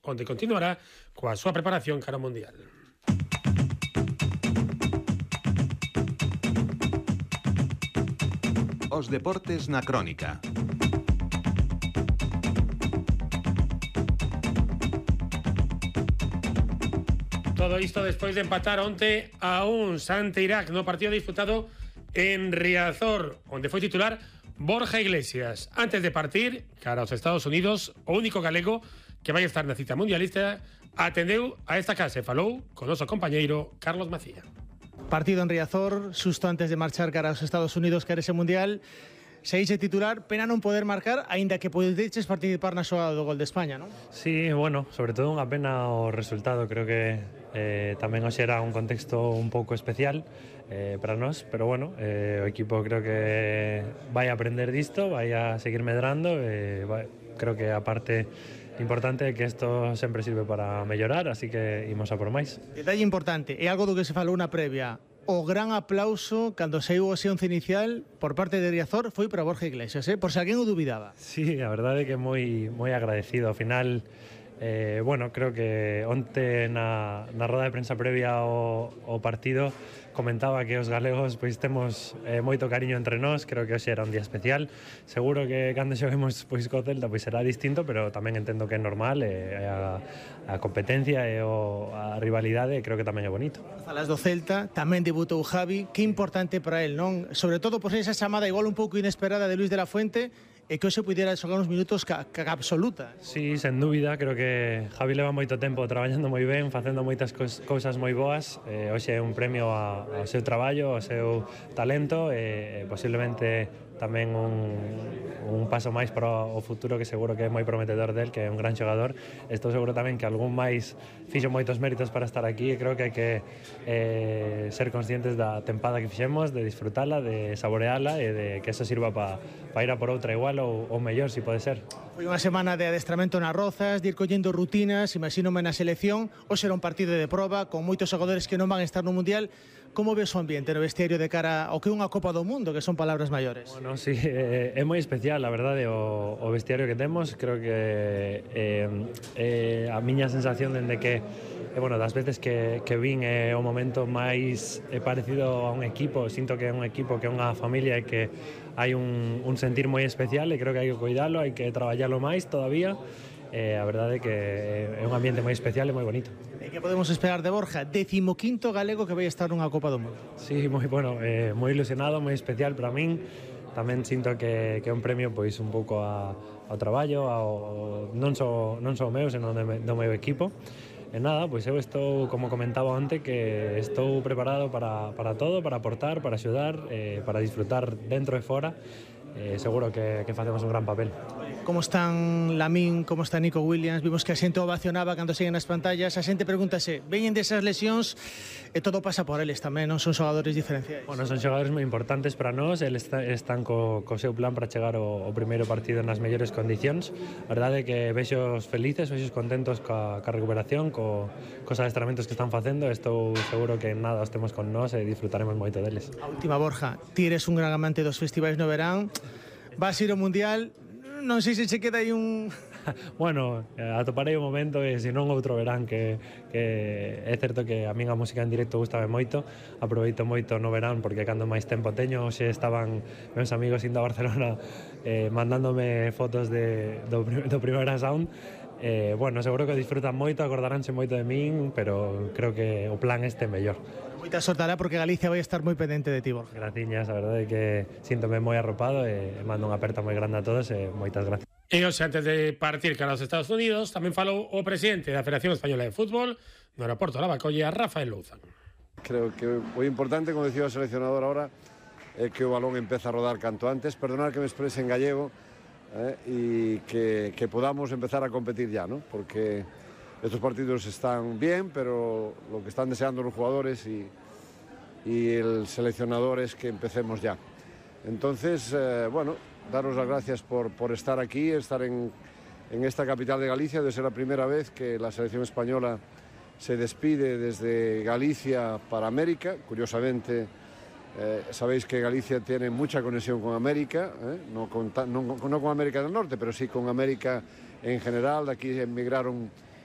onde continuará coa súa preparación cara ao Mundial. Os deportes na crónica. Todo isto despois de empatar onte a uns ante Irak no partido disputado en Riazor, onde foi titular Borja Iglesias. Antes de partir cara aos Estados Unidos, o único galego que vai estar na cita mundialista atendeu a esta casa e falou con noso compañeiro Carlos Macía. Partido en Riazor, susto antes de marchar cara aos Estados Unidos cara ese mundial. Seise titular, pena non poder marcar, aínda que podedes participar na xogada do gol de España, non? Sí, bueno, sobre todo unha pena o resultado. Creo que tamén hoxe era un contexto un pouco especial para nós, pero bueno, o equipo creo que vai aprender disto, vai a seguir medrando, creo que a parte importante é que isto sempre sirve para mellorar, así que imos a por máis. Detalle importante, é algo do que se falou na previa. O gran aplauso cando saiu o xeonce inicial por parte de Riazor foi para Borja Iglesias, por se alguén o dubidaba. Sí, a verdade é que moi agradecido. Ao final, bueno, creo que onte na roda de prensa previa ao partido comentaba que os galegos pois temos moito cariño entre nós. Creo que hoxe era un día especial. Seguro que cando xoguemos pois co Celta pois será distinto, pero tamén entendo que é normal, a competencia e a rivalidade creo que tamén é bonito. Falas do Celta, tamén debutou Javi, que importante para el, non? Sobre todo por esa chamada igual un pouco inesperada de Luis de la Fuente, e que hoxe pudiera xogar uns minutos ca absoluta. Sí, sen dúbida, creo que Javi leva moito tempo traballando moi ben, facendo moitas cousas moi boas. Hoxe é un premio ao seu traballo, ao seu talento e posiblemente tamén un paso máis para o futuro, que seguro que é moi prometedor del, que é un gran xogador. Estou seguro tamén que algún máis fixo moitos méritos para estar aquí, e creo que hai que ser conscientes da tempada que fixemos, de disfrutala, de saboreala e de que eso sirva para ir a por outra igual ou mellor, si pode ser. Foi unha semana de adestramento nas Rozas, de ir collendo rutinas, imagínome na selección. Hoxe era un partido de proba con moitos xogadores que non van a estar no Mundial. Como ves o ambiente no vestiario de cara ao que é unha Copa do Mundo, que son palabras maiores? Bueno, sí, é moi especial, a verdade, o vestiario que temos. Creo que a miña sensación dende que bueno, das veces que vin é o momento máis parecido a un equipo. Sinto que é un equipo, que é unha familia, e que hai un sentir moi especial, e creo que hai que cuidalo, hai que traballalo máis todavía. A verdade é que é un ambiente moi especial e moi bonito. E que podemos esperar de Borja? 15º galego que vai estar nunha Copa do Mundo. Sí, moi bueno, moi ilusionado, moi especial para min. Tamén sinto que é un premio pois un pouco ao traballo, non só o meu, senón do meu equipo. E nada, pois eu estou, como comentaba onte, que estou preparado para todo, para aportar, para axudar, para disfrutar dentro e fora. Seguro que facemos un gran papel. Como están Lamín, como está Nico Williams? Vimos que a xente ovacionaba cando siguen nas pantallas. A xente pregúntase, veñen desas lesións e todo pasa por eles tamén, non son xogadores diferenciais? Bueno, son xogadores moi importantes para nós. Eles están co seu plan para chegar ao primeiro partido nas mellores condicións. A verdade é que vexos felices, vexos contentos ca recuperación, cos adestramentos que están facendo. Estou seguro que nada os temos con nós e disfrutaremos moito deles. A última, Borja, ti eres un gran amante dos festivais no verán. Vas ir ao Mundial, non sei se che queda aí un... Bueno, atoparei o momento, e se non outro verán, que é certo que a min a música en directo gustame moito. Aproveito moito no verán porque cando máis tempo teño. Hoxe estaban meus amigos indo a Barcelona mandándome fotos do Primavera Sound. Bueno, seguro que disfrutan moito, acordaránse moito de min, pero creo que o plan este é mellor. Moita sorte alá, porque Galicia vai estar moi pendente de ti, Borja. Graciñas, a verdade é que síntome moi arropado e mando unha aperta moi grande a todos e moitas gracias. E hoxe, antes de partir cara aos Estados Unidos, tamén falou o presidente da Federación Española de Fútbol no aeroporto de Lavacolla, Rafael Louzán. Creo que moi importante, como dicía o seleccionador ahora, é que o balón empeza a rodar canto antes. Perdonar que me exprese en gallego, y que podamos empezar a competir ya, ¿no? Porque estos partidos están bien, pero lo que están deseando los jugadores y el seleccionador es que empecemos ya. Entonces, bueno, daros las gracias por estar aquí, estar en esta capital de Galicia. Debe ser la primera vez que la selección española se despide desde Galicia para América. Curiosamente, sabéis que Galicia tiene mucha conexión con América, no con América del Norte, pero sí con América en general. De aquí emigraron